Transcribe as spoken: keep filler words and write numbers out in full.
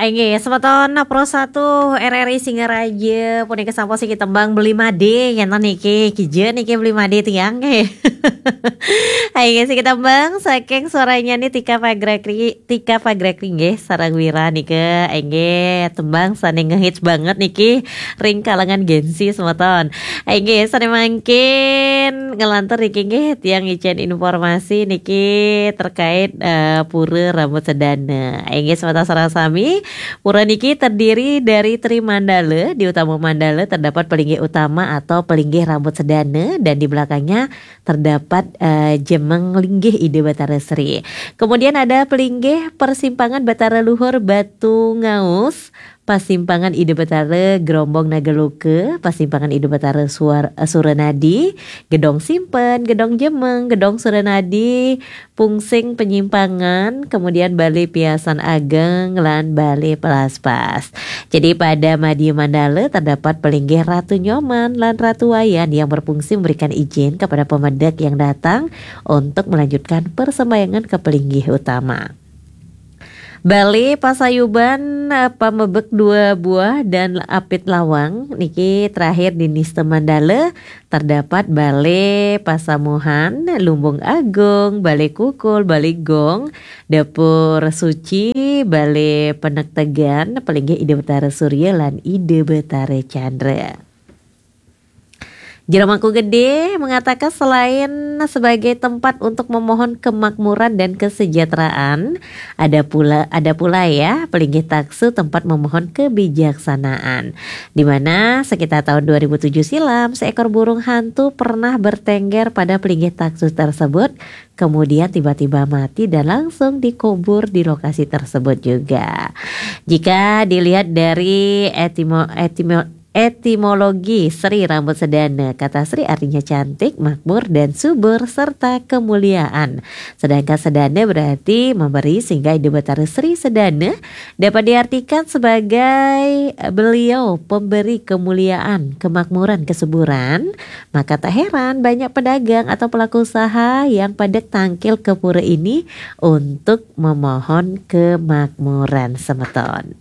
Inggih, semeton Pro satu R R I Singaraja, punika sampun siki tembang Beli Made, enten niki, kija niki Beli Made tiang nggih. Inggih, siki tembang saking suaranya nih Tika Pagrakri, Tika Pagrakri nggih, sareng Wira nika, inggih, tembang sane ngehits banget niki ring kalangan Gen Z semeton. Inggih, sane mangkin ngelantur niki nggih, tiang ngicen informasi niki terkait, eh, Pura Rambut Sedana. Inggih, semeton sareng sami, pura niki terdiri dari tri mandala. Di utama mandala terdapat pelinggih utama atau pelinggih rambut sedana, dan di belakangnya terdapat, eh, jemeng linggih Ida Batara Sri. Kemudian ada pelinggih persimpangan Batara Luhur Batu Ngaus, pasimpangan Ida Batara Gerombong Nagaluka, pasimpangan Ida Batara Suar-, Suranadi, Gedong Simpen, Gedong Jemeng, Gedong Suranadi, Pungsing Penyimpangan, kemudian Bale Piasan Ageng, lan Bale Pelaspas. Jadi pada Madya Mandala terdapat pelinggih Ratu Nyoman lan Ratu Wayan yang berfungsi memberikan izin kepada pemedek yang datang untuk melanjutkan persembahyangan ke pelinggih utama. Bale Pasayuban, eh, pamebek dua buah dan apit lawang niki terakhir di Nista Mandala terdapat Bale Pasamuhan, Lumbung Agung, Bale Kukul, Bale Gong, Dapur Suci, Bale Penektegan, pelinggih Ida Betara Surya lan Ida Betara Chandra. Jero Mangku Gede mengatakan selain sebagai tempat untuk memohon kemakmuran dan kesejahteraan, ada pula, ada pula ya, pelinggih taksu tempat memohon kebijaksanaan. Di mana sekitar tahun dua ribu tujuh silam, seekor burung hantu pernah bertengger pada pelinggih taksu tersebut, kemudian tiba-tiba mati dan langsung dikubur di lokasi tersebut juga. Jika dilihat dari etimo-, etimo-, etimologi Sri Rambut Sedana, kata Sri artinya cantik, makmur, dan subur, serta kemuliaan. Sedangkan Sedana berarti memberi, sehingga Ida Betara Sri Sedana dapat diartikan sebagai, eh, beliau pemberi kemuliaan, kemakmuran, kesuburan. Maka tak heran banyak pedagang atau pelaku usaha yang pada tangkil ke pura ini untuk memohon kemakmuran, semeton.